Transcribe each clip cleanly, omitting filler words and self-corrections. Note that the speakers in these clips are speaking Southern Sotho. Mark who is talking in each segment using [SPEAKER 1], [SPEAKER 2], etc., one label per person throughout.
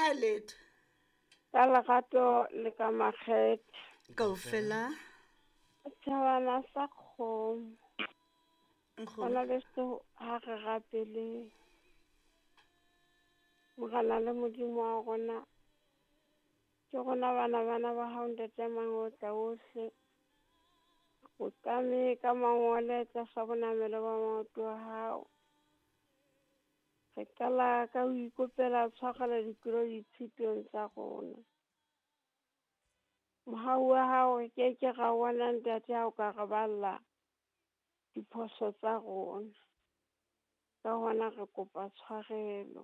[SPEAKER 1] Ha letho.
[SPEAKER 2] Ka lerato le ka makgethe.
[SPEAKER 1] Kaofela.
[SPEAKER 2] Setjhabana sa kgomo.
[SPEAKER 1] Nkgono.
[SPEAKER 2] Bana beso ha re rapeleng. Morena le Modimo wa rona. Ke rona bana bana ba hao Ntate Mangotla ohle. O tame ka mangole tlasa bonamelo ba maoto a hao. Re qala ka ho ikopela tshwarelo ditlolo ditshitong tsa rona. Mohau wa hao re ke ke ra bona Ntate ha o ka re balla diphoso tsa rona. Ka hona re kopa tshwarelo.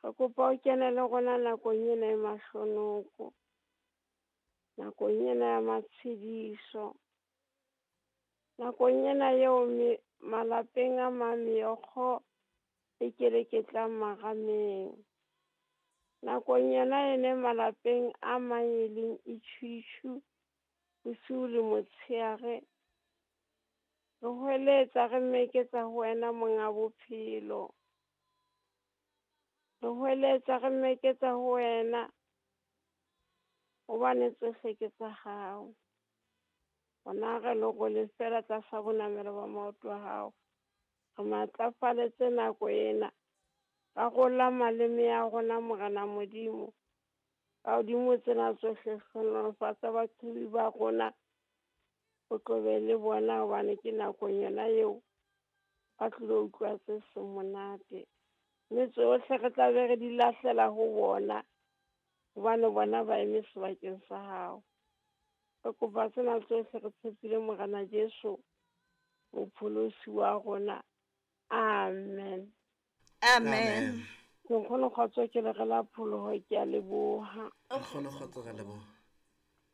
[SPEAKER 2] Re kopa o kene le rona nakong ena e mahlonoko, nakong ena ya matshediso, nakong ena eo malapeng a mang meokgo e keleketlang marameng, nakong yona ene malapeng a mang e leng itjhutjhu bosiu le motshehare. Re hweletsa re meketsa ho wena monga bophelo. Re hweletsa re meketsa ho wena hobane tsohle ke tsa hao. Rona re lerole fela tlasa bonamelo ba maoto a hao. Re matlafaletse nako ena. Rarolla maleme a rona Morena Modimo. Ka hodimo tsena tsohle hlohonolofatsa baqhobi ba rona. O tlobe le bona hobane ke nakong yona eo ba tlilo utlwa tse seng monate. Mme tsohle re tla be re di lahlela ho bona hobane bona ba eme sebakeng sa hao. Re kopa tsena tsohle re tshepile Morena Jesu mopholosi wa rona. Amen.
[SPEAKER 1] Amen.
[SPEAKER 2] Nkgono kgotso ke le re la pholoho, ke a leboha.
[SPEAKER 3] Nkgono kgotso re leboha.